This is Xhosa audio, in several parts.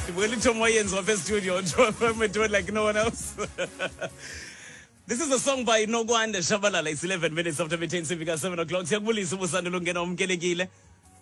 Ndibukela ithomo yenziwa apha estudio we do it like no one else. This is a song by Nokwanda Shabalala. It's 11 minutes after 10 sifika 7 o'clock. Siyakubulisa ubusanda lungena umkelekile.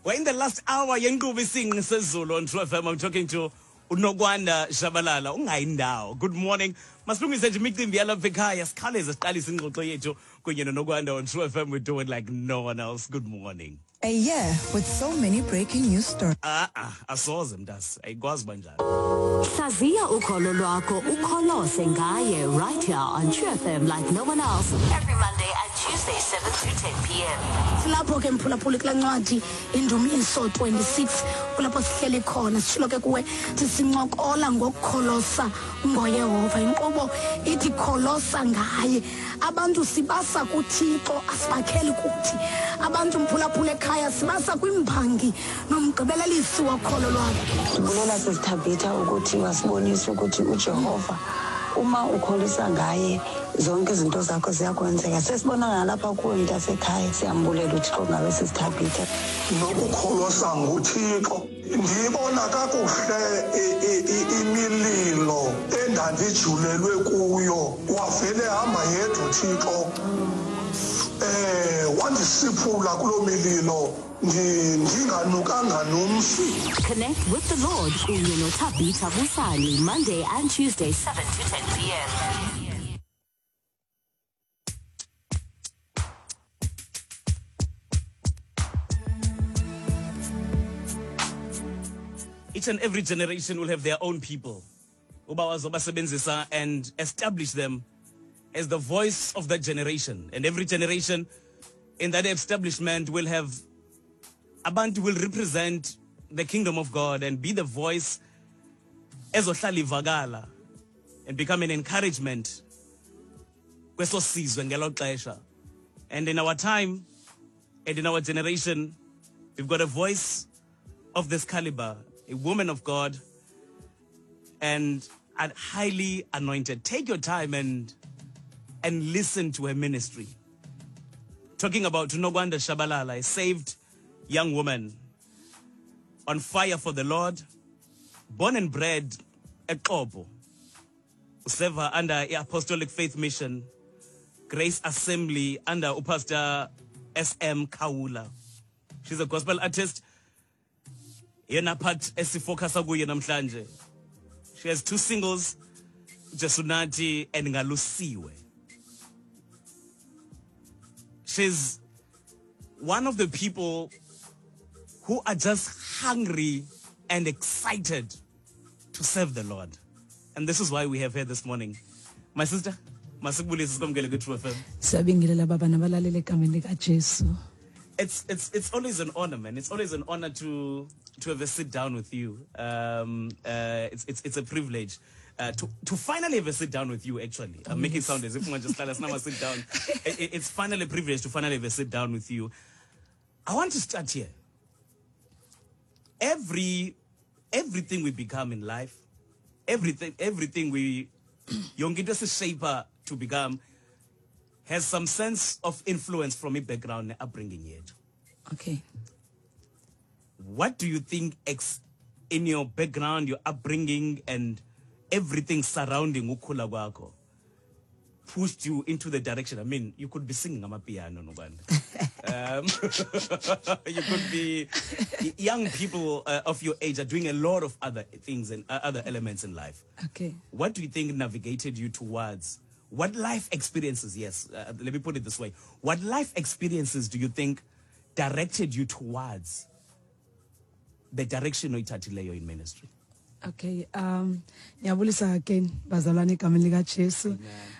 We're in the last hour yenkqubo isinqi sezulu on True FM. I'm talking to uNokwanda Shabalala. Ungayindawo. Good morning. Masilungise nje imicimbi yalapha ekhaya sikhawuleze siqalise ingxoxo yethu kunye noNokwanda on True FM. We do it like no one else. Good morning. A year with so many breaking news stories. Ah ah, asoze mntase. Ayikwazi banjalo. Hlaziya ukholo lwakho ukholose ngaye right here on True FM like no one else every Monday and Tuesday 7 to 10 p.m. Silapho ke mphulaphuli kula ncwadi Indumiso 26 kulapho sihleli khona sitshilo ke kuwe thi sincokola ngokukholosa ngoYehova. Inkqubo ithi kholosa ngaye. Abantu sibasa kuThixo asibakheli kuthi. Abantu mphulaphula ekhaya sibasa kwimbangi nomgqibelelisi wokholo lwabo. Ndibulela sisiThabitha ukuthi wasibonisa ukuthi uJehova uma ukholisa ngaye zonke izinto zakho ziyakwenzeka. Sesibona nalapha kuwe mntasekhaya, siyambulela uThixo ngawe sisiThabitha. Nokukholosa nguThixo ndiyibona kakuhle imililo endandijulelwe kuyo wavele hamba yedwa uThixo wandisiphula kuloo mililo ndinganukanga nomsi. Connect with the Lord kunye noThabitha Busani Monday and Tuesday 7 to 10 p.m. Each and every generation will have their own people uba wazobasebenzisa and establish them as the voice of that generation. And every generation in that establishment will have abantu will represent the kingdom of God and be the voice ezohlala ivakala and become an encouragement kweso sizwe ngelo xesha. And in our time and in our generation, we've got a voice of this caliber, a woman of God, and highly anointed. Take your time and listen to her ministry. Talking about Nokwanda Shabalala, a saved young woman on fire for the Lord, born and bred eXopo, server under the Apostolic Faith Mission, Grace Assembly under Pastor S.M. Kawula. She's a gospel artist. Yena part esifocus kuye namhlanje. She has 2 singles, Jesunati and Ngalusiwe. She's one of the people who are just hungry and excited to serve the Lord. And this is why we have her this morning. My sister, masikubulise sikwamkele kwi-True FM. Siyabingelela baba nabalaleli egameni likaJesu. It's always an honor, man. It's always an honor to have a sit down with you. It's a privilege to finally have a sit down with you. Actually, I'm making it sound as if one just tell us now sit down. It's finally a privilege to finally have a sit down with you. I want to start here. Everything we become in life, everything we yonke into esishape to become has some sense of influence from a background and upbringing yet. Okay. What do you think in your background, your upbringing and everything surrounding ukhula kwakho pushed you into the direction? I mean, you could be singing amapiano, Nokwanda. You could be young people of your age are doing a lot of other things and other elements in life. Okay. What do you think navigated you towards? What life experiences, yes, let me put it this way. What life experiences do you think directed you towards the direction oyithathileyo in ministry? Okay, ngiyabulisa again bazalwane egameni likaJesu.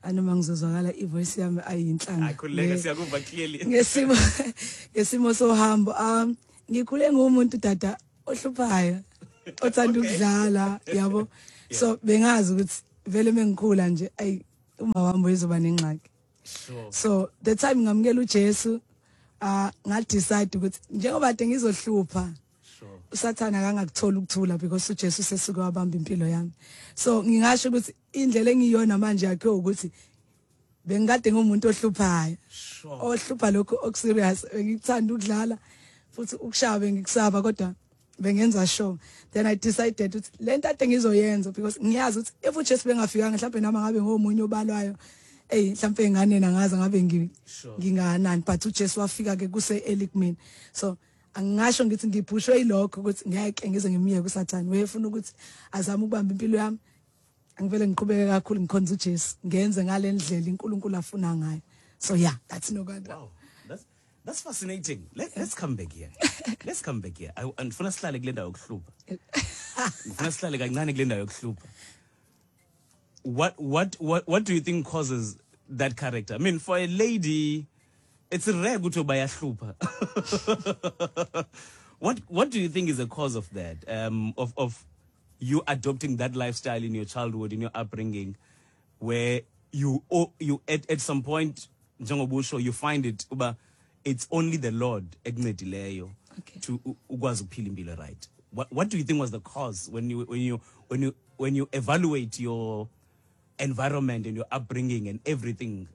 Anoma ngizozwakala ivoice yami ayinhlanga. Akhuleka siyakuva clearly. Ngesimo sohambo. Ngikhule ngumuntu dada ohluphayo, othanda ukudlala, yabo. So bengazi ukuthi vele mengikhula nje ay uma wami uzoba nengxaki. Sure. So the time ngamukela uJesu, nga decide ukuthi njengoba kade ngizohlupha uSathana akangakuthola ukuthula because uJesu sesuke wabamba impilo yami. So ngingasho ukuthi indlela engiyona manje yakhe ukuthi bengikade ngumuntu ohluphayo. Ohlupha lokho okuserious, bengikuthanda ukudlala futhi ukushaya bengikusaba, kodwa Bengenza sure. Then I decided ukuthi lento ade ngizoyenza, because ngiyazi ukuthi if uJesu bengafikanga, mhlawumbe nami ngabe ngomunye obalwayo, ey, mhlawumbe enganeni angazi ngabe nginganani, but uJesu wafika ke kuse early kumina. So angingasho ngithi ngiphushwe yilokho ukuthi ngeke ngize ngimiyeke uSathane wefuna ukuthi azame ukubamba impilo yami. Angivele ngiqhubeke kakhulu ngikhonza uJesu, ngenze ngale ndlela iNkulunkulu afuna ngayo. So yeah, that's Nokwanda. Wow, that's fascinating. Let's come back here. Let's come back here. Andifuna sihlale kule ndawo yokuhlupha. Ngifuna sihlale kancane kule ndawo yokuhlupha. What do you think causes that character? I mean, for a lady, it's rare ukuthi bayahlupha. What do you think is the cause of that? Of you adopting that lifestyle in your childhood, in your upbringing, where you at some point, njengobusho, you find it uba it's only the Lord ekuncedileyo to ukwazi ukuphila impilo, right? What do you think was the cause when you evaluate your environment and your upbringing and everything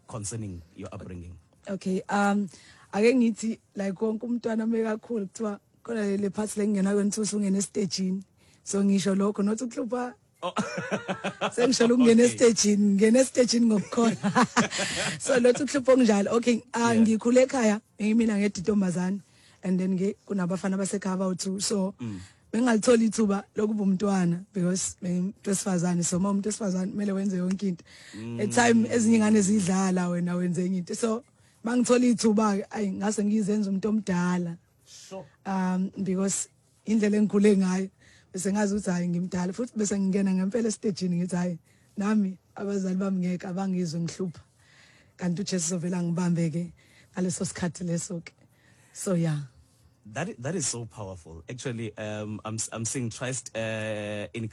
concerning your upbringing? Okay, ake ngithi like wonke umntwana mekakhulu kuthiwa khona le part lengena kwenza usungena estagini. So ngisho lokho, not ukuhlupha. Sengisho ukungena estagini, ngena estagini ngokukhona. So lothu ukuhlupha okunjalo. Okay, ngikhule ekhaya ngimina ngedwa intombazane, and then ke kunabafana basekhaya abawu2, so bengalithola ithuba lokuba umntwana because bengumuntu wesifazane. So uma umuntu wesifazane kumele wenze yonke into. At time ezinye ingane zidlala, wena wenze enye into. So mangithola ithuba ke, ayi, ngase ngizenza umuntu omdala. Because indlela engikhule ngayo bese ngazi ukuthi hayi, ngimdala, futhi bese ngingena ngempela estagini ngithi hayi, nami abazali bami ngeke abangizwe ngihlupha, kanti uJesu uzovela ngibambe ke ngaleso sikhathi leso ke. So yeah. That is so powerful. Actually, I'm seeing Trust in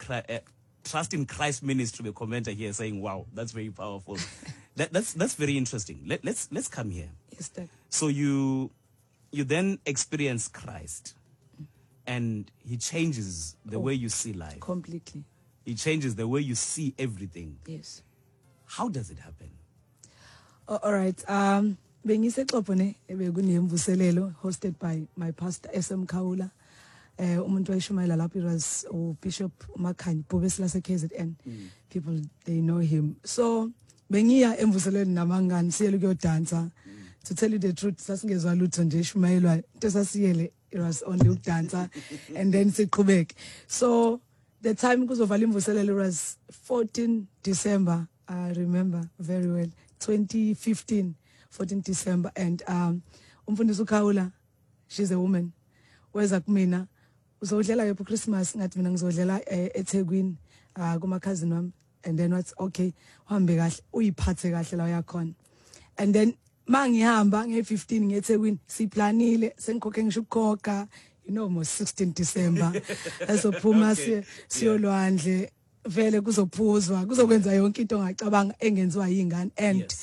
Christ Ministry, the commenter here saying, "Wow, that's very powerful." That's very interesting. Let's come here. Yes, Dad. So you then experience Christ, and He changes the way you see life. Completely. He changes the way you see everything. Yes. How does it happen? Oh, all right. Bengisexopo ne, ebekunemvuselelo hosted by my pastor SM Khawula. Umuntu wayeshumayela lapho, it was uBishop uMakhanya Bhubesi lase KZN. People, they know him. So bengiya emvuselweni nabangani, siyele ukuyodansa. To tell you the truth, sasingezwa lutho nje eshumayelwa, into sasiyele it was only ukudansa and then siqhubeke. So the time kuzovala imvuselelo was 14 December, I remember very well, 2015, 14 December, and umfundisi uKhawula, she's a woman, weza kumina, "Uzodlela kephi Christmas?" Ngathi mina ngizodlela eThekwini kuma cousin wami, and then wathi, "Okay, uhambe kahle, uyiphathe kahle la uyakhona." And then mangihamba nge15 ngeThekwini, siplanile, sengikhokhe ngisho ukukhokha, mo 16 December esophuma siye siyolwandle, vele kuzophuzwa, kuzokwenza yonke into ongacabanga engenziwa yingane, and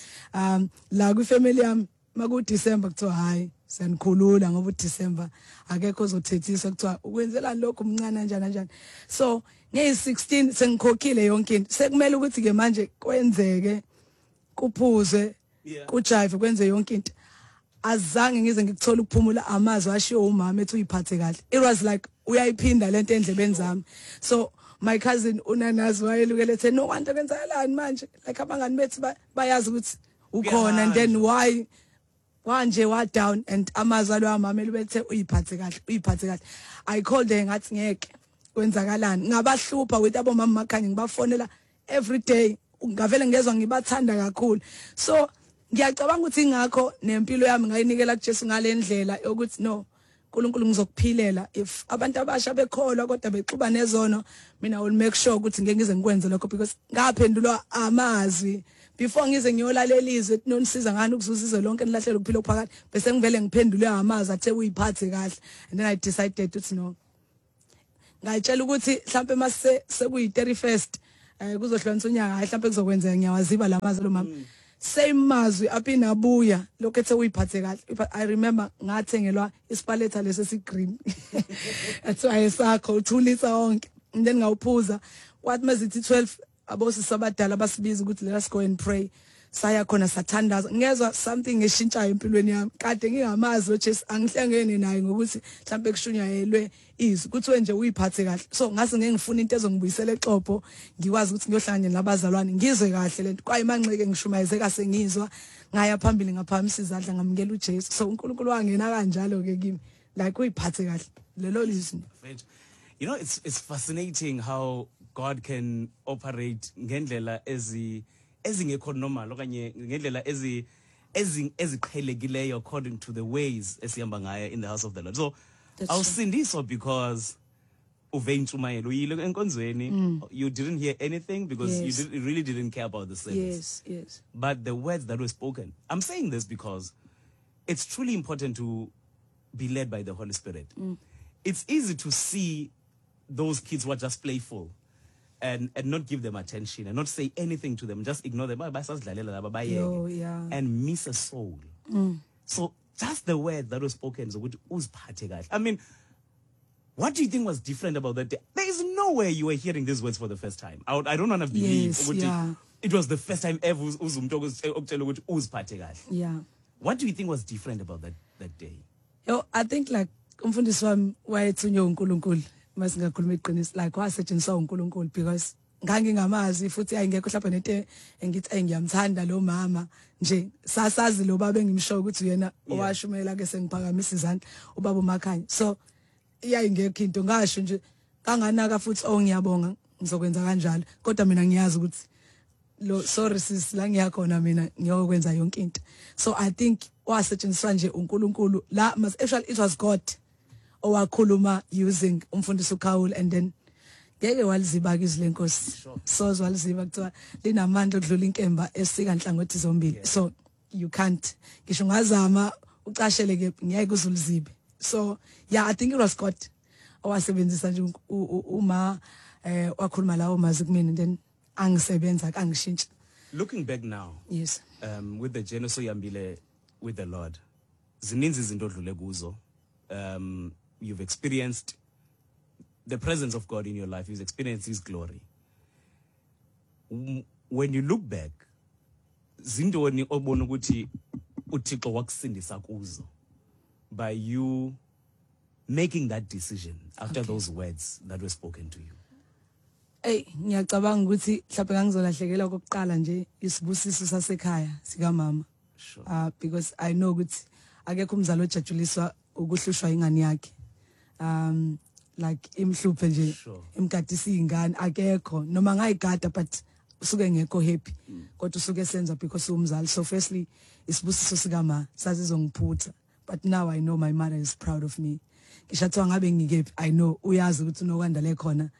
la kwifamily yami maku December kuthiwa hayi, siyanikhulula ngoba uDecember akekho ozothethiswa, kuthiwa ukwenzelani lokho, umncane kanjani kanjani. So ngeyi16 sengikhokhile yonke into, sekumele ukuthi ke manje kwenzeke, kuphuzwe, kujive, kwenze yonke into. Azange ngize ngikuthola ukuphumula. Amazwi ashiwo umama ethi uyiphathe kahle, it was like uyayiphinda lento endlebeni zami. So my cousin unanazi wayelukele ethe, "No wonder, kwenzakalani manje? Like abangani bethu bayazi ukuthi ukhona, and then why wanje wa down?" And amazwi alo amamela bethe uyiphathe kahle, uyiphathe kahle. I called her, ngathi ngeke, kwenzakalani? Ngabahlupha with abomama Makhanya, ngibafonela every day, ngavele ngezwe ngibathanda kakhulu. So ngiyacabanga ukuthi ingakho nempilo yami ngayinikela kuJesu ngalendlela yokuthi no, uNkulunkulu, ngizokuphilela. If abantu abasha bekholwa kodwa bexuba nezono, mina will make sure ukuthi ngeke ngize ngikwenze lokho, because ngaphendulwa amazwi before ngize ngiyolalela izwi ethi nonisiza ngani ukuzuza izwe lonke nilahlele ukuphila okuphakade, bese ngivele ngiphendulwe amazwi athe uyiphathe kahle. And then I decided ukuthi no, ngayitshela ukuthi mhlambe mase sekuyi 31st kuzohlukanisa unyaka, hayi, mhlambe kuzokwenzeka, ngiyawaziba lamazwi lo mama. Same mazwi aphinda abuya lokho ethe uyiphathe kahle. I remember ngathengelwa isipaletha leso esigreen, athiwa esakho uthulisa wonke, and then ngawuphuza. Kwathi mazithi 12, abosisi abadala basibiza ukuthi let us go and pray. Saya khona sathandaza, ngezwa something eshintshayo empilweni yami. Kade ngingamazi uJesu, angihlangene naye ngokuthi mhlambe kushunyayelwe izwi kuthiwe nje uyiphathe kahle. So ngase ngeke ngifuna into ezongibuyisela exopo, ngikwazi ukuthi ngiyohlangana nabazalwane ngizwe kahle lento. Kwaye manxeke ngishumayeze sengizwa, ngaya phambili ngaphamisa izandla ngamukela uJesu. So uNkulunkulu wangena kanjalo ke kimi, like uyiphathe kahle lelo lizwi. You know, it's fascinating how God can operate ngendlela ezingekho normal okanye ngendlela ezi eziqhelekileyo according to the ways esihamba ngayo in the house of the Lord. So awusindiswa because uve intshumayelo, uyile enkonzweni, you didn't hear anything because you really didn't care about the service. Yes. But the words that were spoken. I'm saying this because it's truly important to be led by the Holy Spirit. It's easy to see those kids who are just playful and not give them attention and not say anything to them, just ignore them and miss a soul. So just the word that was spoken, I mean, what do you think was different about that day? There is no way you were hearing these words for the first time. I don't want to believe it was the first time ever. Yeah. What do you think was different about that day? Yo, I think like umfundisi wami wayethunywe uNkulunkulu, masingakhuluma iqiniso, like wasetshenziswa uNkulunkulu because ngangingamazi futhi ayingekho mhlawumbe nento engithi ngiyamthanda lo mama nje. Sasazi lo baba engimsho ukuthi uyena owashumela ke sengiphakamisa izandla, ubaba uMakhanya. So iyayingekho into ngasho nje kanganaka futhi ngiyabonga ngizokwenza kanjalo, kodwa mina ngiyazi ukuthi lo sorry sis la ngiyakhona mina ngiyokwenza yonke into. So I think wasetshenziswa nje uNkulunkulu la, actually it was God owakhuluma using umfundisi uKhawula, and then ngeke waliziba ke izwi lenkosi, sozwa liziba kuthiwa linamandla okudlula inkemba esika nhlangothi zombili. So you can't, ngisho ungazama ucashele ke ngeke uzulizibe. So yeah, I think it was God owasebenzisa nje uma wakhuluma lawo mazwi kumina, and then angisebenza kangishintsha. Looking back now, yes, with the journey soyambile with the Lord, zininzi izinto odlule kuzo. You've experienced the presence of God in your life, you've experienced his glory. When you look back, zintoni obona ukuthi uThixo wakusindisa kuzo by you making that decision after those words that were spoken to you? Hey, ngiyacabanga ukuthi mhlawumbe ngangizolahlekelwa kokuqala nje isibusiso sasekhaya sikamama. Sure. Because I know ukuthi akekho umzali ojatshuliswa ukuhlushwa ingane yakhe. Like imhluphe nje, imgadisa ingane akekho, noma ngayigada but usuke ngekho happy, kodwa usuke senza because umzali. So firstly isibusiso sikama sazizongiphutha, but now I know my mother is proud of me. Ngishathiwa ngabe ngikephi, I know uyazi ukuthi uNokwanda le khona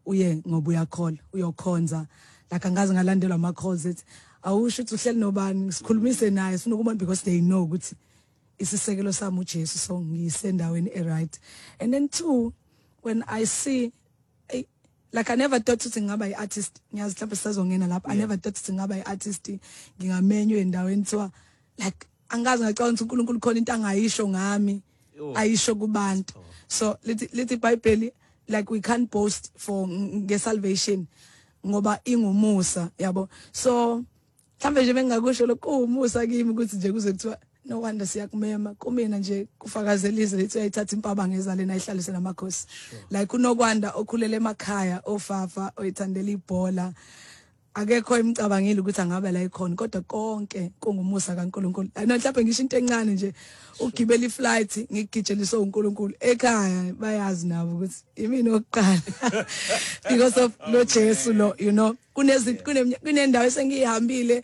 uye ngoba uyakhola uyokhonza, like angaze ngalandelwa ama calls ethi awusho ukuthi uhleli nobani, sikhulumise naye sifuna ukubona, because they know ukuthi isisekelo sami uJesu, so ngisendaweni e right. And then two, when I see, like I never thought ukuthi ngingaba i-artist, ngiyazi mhlawumbe sisazongena lapha. I never thought ukuthi ngingaba i-artist, ngingamenywa endaweni kuthiwa like angazi ngacabanga ukuthi uNkulunkulu khona into angayisho ngami ayisho kubantu. So lithi iBhayibheli like we can't boast for nge-salvation ngoba ingumusa, yabo. So mhlawumbe nje bengakusho lokho umusa kimi ukuthi nje kuze kuthiwa no wonder siyakumema kumina nje kufakazelise lethi uyayithatha impaba ngezalena ayihlalise namakhosi. Like uNokwanda okhulele emakhaya ofafa oyithandela ibhola, akekho imcabangile ukuthi angabe la ikhona, kodwa konke kungumusa kaNkuluNkulu. No mhlawumbe ngisho into encane nje, ugibela iflight ngigijeliswe uNkulunkulu ekhaya, bayazi nabo ukuthi imini oqala because of lo Jesu lo, you know. Kunendawo esengihambile,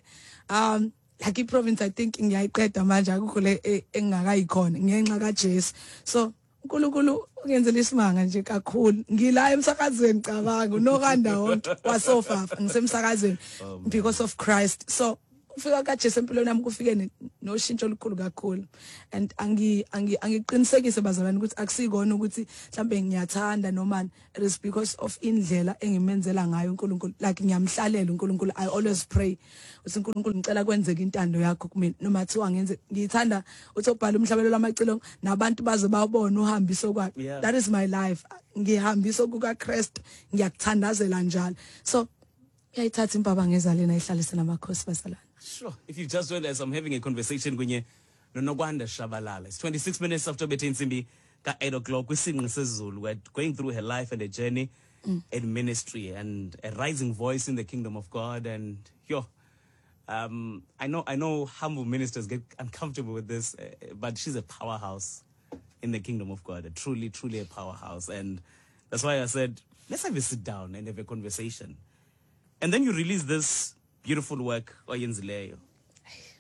like iprovince I think ngiyayiqeda manje, akukho le engingakayikhona ngenxa kaJesu. So uNkulunkulu ungenzela isimanga nje kakhulu. Ngila emsakazweni, cabanga uNokwanda wonke wasofafa ngisemsakazweni because of Christ. So ufika kaJesu empilweni yami kufike noshintsho olukhulu kakhulu, and angiqinisekise bazalwane ukuthi akusikona ukuthi mhlambe ngiyathanda noma, it is because of indlela engimenzela ngayo uNkulunkulu. Like ngiyamhlalela uNkulunkulu, I always pray uthi uNkulunkulu ngicela kwenzeke intando yakho kumina, noma thiwa ngenze ngiyithanda uthi obhala umhlabelo lamacilongo nabantu baze bawubone uhambiso kwakhe. That is my life, ngihambiso kukaKristu, ngiyakuthandazela njalo. So uyayithatha impaba ngezalena ayihlalise namakhosi bazalwane. Sure. If you've just joined us, I'm having a conversation kunye noNokwanda Shabalala. It's 26 minutes after bethe intsimbi ka-8 o'clock kwisinqi sezulu. We're going through her life and her journey in ministry and a rising voice in the kingdom of God. And yo, I know humble ministers get uncomfortable with this, but she's a powerhouse in the kingdom of God, truly, truly a powerhouse. And that's why I said, let's have a sit down and have a conversation. And then you release this beautiful work oyenzileyo.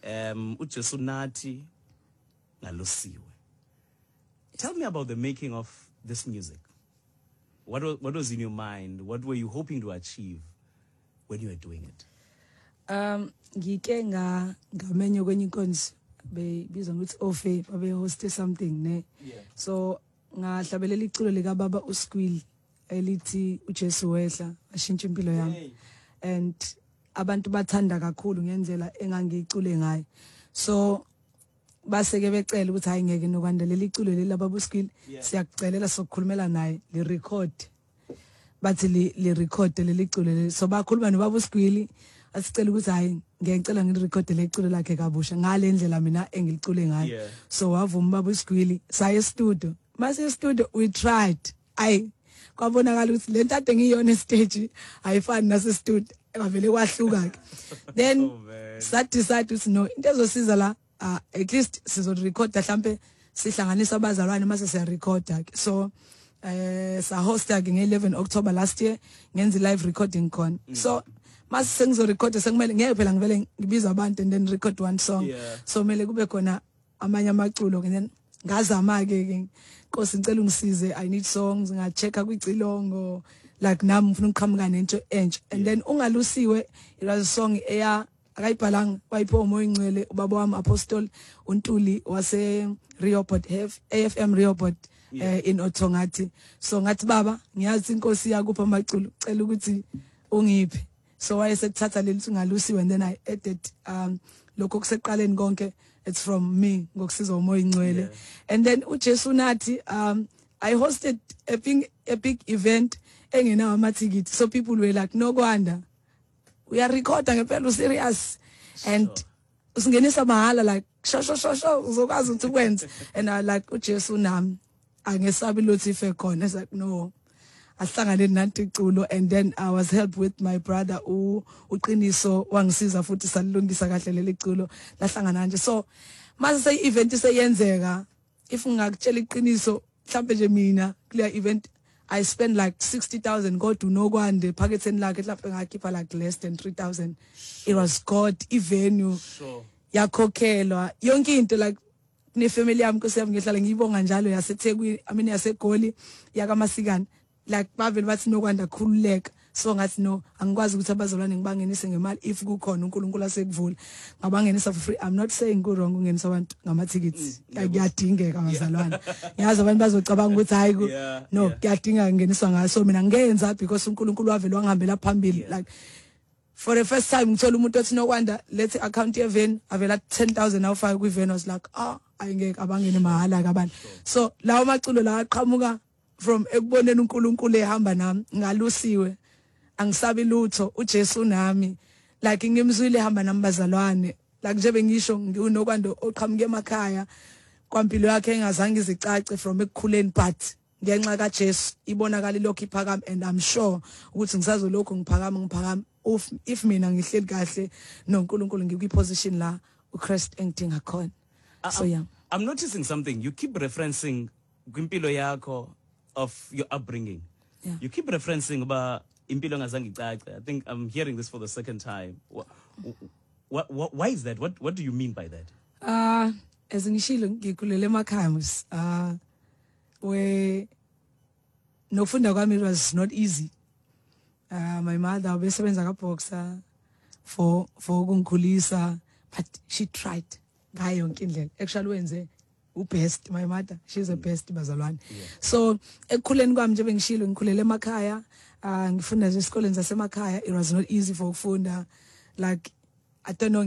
UJesu Nathi Ngalusiwe. Tell me about the making of this music. What was in your mind? What were you hoping to achieve when you were doing it? Ngike nga ngamenywa kwenye inkonzo bebizwa ngokuthi Ofe, babe host something ne. So ngahlabelela iculo lika baba uSqueal elithi uJesu wehla ashintsha impilo yami. And abantu bathanda kakhulu ngendlela engangiyicule ngayo. So base ke becela ukuthi hayi, ngeke Nokwanda, leli iculo leli baba uSqueal, siyakucelela sokukhulumela naye li record, bathi li record leli culo leli. So bakhuluma nobaba uSgwili, asicela ukuthi hayi, ngiyacela ngilirekhode leculo lakhe kabusha ngale ndlela mina engilicule ngayo. So wavuma baba uSgwili, saye studio. Mase studio we tried, ayi, kwabonakala ukuthi le nto ade ngiyona stage ayifani nase studio, kwavele kwahluka ke then. Oh, man. Sa decide ukuthi no, into ezosiza la, at least sizorecorda, mhlambe sihlanganisa abazalwane mase siyarecorda ke. So sa hosta ke nge-11 October last year, ngenza live recording khona. So mase sengizorecorda, sekumele ngeke phela ngivele ngibiza abantu and then record one song. So kumele kube khona amanye amaculo. And then ngazama ke ke, Nkosi, ngicela ungisize, I need songs. Ngachecka kwicilongo, like nami ngifuna ukuqhamuka nento entsha. And then ungalusiwe, it was a song eya akayibhalanga, wayiphiwa uMoya Ingcwele ubaba wami, Apostle uNtuli wase Rehoboth, AFM Rehoboth, in Othongathi. So ngathi, "Baba, ngiyazi inkosi yakupha amaculo, cela ukuthi ungiphe." So wayesethatha leli ungalusiwe and then I added lokho kuseqaleni konke, it's from me ngokusizwa uMoya Ingcwele. And then uJesu nathi, I hosted a big event engenawo amathikithi. So people were like, "Nokwanda, uyarekhoda ngempela, userious and usingenisa mahala, like sho sho sho sho, uzokwazi ukuthi ukwenze?" And I like, "uJesu nami, angesabi lutho ife khona." It's like, no, ahlangane nanti iculo. And then I was helped with my brother u uqiniso, wangisiza futhi salilungisa kahle leli culo, lahlangana nje. So mase sey event seyenzeka, if ngingakutshela iqiniso, mhlambe nje mina kuleya event I spent like 60,000, kodwa uNokwande phaketheni lakhe mhlawumbe ngakhipha like less than 3,000. It was God, ivenue yakhokhelwa, yonke into. Like nefamily yami, Nkosi yami, ngihlala ngiyibonga njalo, yaseThekwini, I mean yaseGoli, yakaMasikane, like bavele bathi, "Nokwanda, khululeka." So ngathi, no, angikwazi ukuthi abazalwane ngibangenise ngemali if kukhona uNkulunkulu asekuvula, ngabangenisa for free. I'm not saying ku wrong ukungenisa abantu ngamathikithi, kuyadingeka bazalwane. Ngiyazi abantu bazocabanga ukuthi hayi no, kuyadingeka kungeniswa ngayo. So mina ngenza because uNkulunkulu wavele wangihambela phambili. Like for the first time ngithola umuntu othi, "Nokwanda, let's account yeven," avela 10,000 awufaka kwiven. Was like, ah, ayingeke abangene mahala ke abantu. So lawo maculo la aqhamuka from ekuboneni uNkulunkulu ehamba nami. Ngalusiwe, angisabi lutho, uJesu nami, like ngimzwile ehamba nami bazalwane. Like nje bengisho, ngiuNokwanda oqhamuke emakhaya kwampilo yakhe engazange izicace from ekukhuleni, but ngenxa kaJesu ibonakala lokhu iphakama, and I'm sure ukuthi ngisazolokhu ngiphakama, ngiphakama if mina ngihleli kahle noNkulunkulu, ngikwi position la uChrist engidinga khona. So yeah. I'm noticing something. You keep referencing kwimpilo yakho of your upbringing. You keep referencing about impilo ngazange icace. I think I'm hearing this for the second time. Why is that? What do you mean by that? As ngishilo, ngikhulele emakhaya mos. We nokufunda kwami, it was not easy. My mother ubesebenza ka Boxer for ukungikhulisa, but she tried ngayo yonke indlela. Actually wenze ubest, my mother, she's the best bazalwane. So ekukhuleni kwami nje bengishilo, ngikhulele emakhaya, ngifunda nje esikoleni zasemakhaya. It was not easy for ukufunda, like I don't know.